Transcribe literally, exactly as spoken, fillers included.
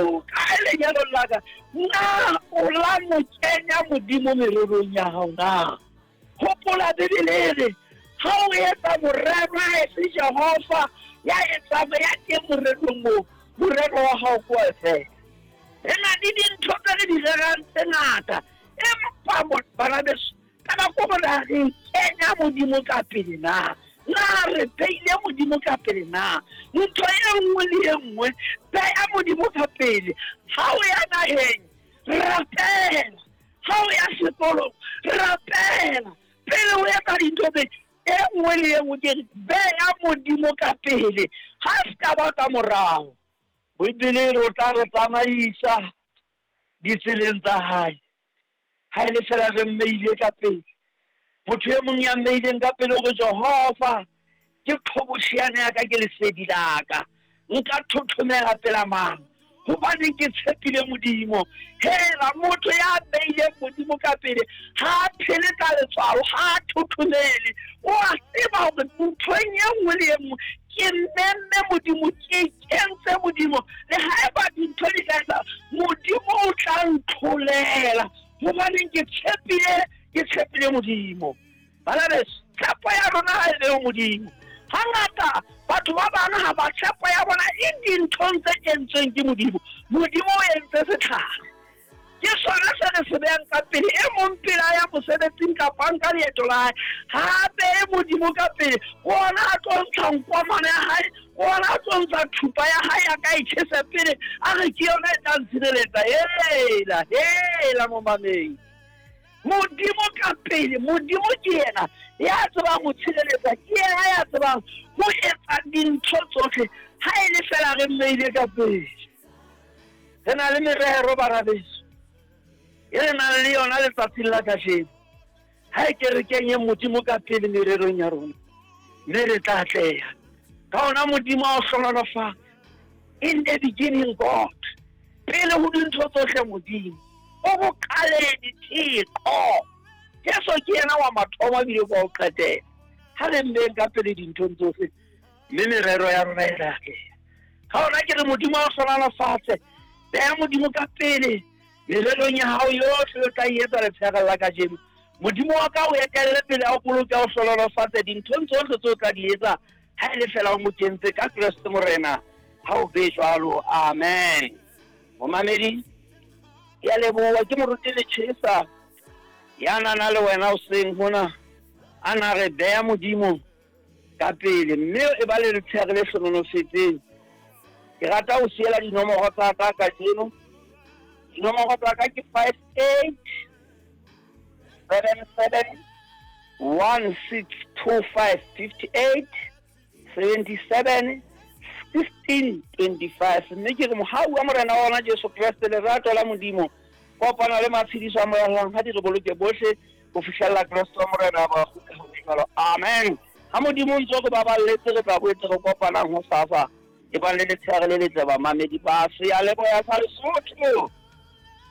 o kae lenyalong la ka? Na o la mo kenya Modimo mererong ya hao na? Hopola Bibele e re ha o etsa morero ha e se Jehova ya etsang ya teng morerong moo, morero wa hao ke wa fela. Re na le dintho tse re di rerang tse ngata, empa bana beso, taba ke hore na re kenya Modimo ka pele na? Na re beile Modimo ka pele na? Ntho e nngwe le e nngwe beya Modimo ka pele. Ha o ya naheng, rapela. Ha o ya sekolong, rapela. Pele o etsa dintho tse, e nngwe le e nngwe ke re beya Modimo ka pele, ha se ka ba ka morao. Bibele re o tla re tsamaisa ditseleng tsa hae. Ha e le fela re mmeile ka pele. Motho e mong ya mmeileng ka pele hore Jehova ke qhobosheane ya ka, ke lesedi la ka, nka thothomela pela mang? Hobane ke tshepile Modimo. Hela, motho ya beileng Modimo ka pele ha a phele ka letswalo, ha a thothomele. O a tseba hore nthong e nngwe le e nngwe ke memme Modimo, ke kentse Modimo. Le haeba dintho di ka etsa, Modimo o tla ntlholela. Hobaneng ke tshepile, ke tshepile Modimo. Bana beso, tshepo ya rona ha e be ho Modimo. Hangata batho ba bang ha ba tshepo ya bona e dinthong tse entsweng ke Modimo. Modimo o entse setlhare, ke sona se re se behang ka pele. E mong pele a ya mosebetsing kapa a nka leeto la hae, ha behe Modimo ka pele. Ona a tlo ntsha nkwamane ya hae, ona a tlo ntsha thupa ya hae ya ka e tjhese pele, a re ke yona e tla ntshireletsa. Hela, hela momameng, Modimo ka pele. Modimo ke yena ya tsebang ho tshireletsa, ke yena ya tsebang ho etsa dintho tsohle. Ha e le fela re mmeile ka pele. Re na le merero, bana beso, e re nang le yona letsatsing la kajeno. Ha e ke re kenyeng Modimo ka pele mererong ya rona, mme re tla atleha. Ka ona Modimo a o hlohonolofatse. In the beginning God, pele ho dintho tsohle Modimo o boqaleng Thixo. Jesu ke yena wa mathomo ebile ke wa ho qetela. Ha re mmeng ka pele dinthong tsohle, mme merero ya rona e tla atleha. Ka ona ke re Modimo a o hlohonolofatse. Beha Modimo ka pele mererong ya hao yohle o tla e etsa letsheare la kajeno. Modimo wa ka o etelle pele, a o boloke, a o hlohonolofatse dinthong tsohle tseo o tla di etsa, ha e le fela o mo kentse ka Kreste Morena. Ha o be jwalo, amen. Momamedi, ke a leboha. Ke moruti Lechesa ya nana le wena hoseng hona, a na re beha Modimo ka pele, mme e ba le letsheare le hlohonolofetseng. Ke rata ho siela dinomoro tsa ka kajeno. Dinomoro tsa ka ke five eight seven seven one six two five, fifty eight seventy seven sixteen twenty five. Mme ke re mohau wa Morena wa rona Jesu Kreste, lerato la Modimo, kopano le matshediso a Moya ha di re boloke bohle ho fihlella Kreste wa Morena ba kgutla ho jwalo. Amen. Ha Modimo ntse re baballetse, re tla boetse re kopanang hosasa. E bang le letsheare le letle, bamamedi ba Seyalemoya sa Lesotho.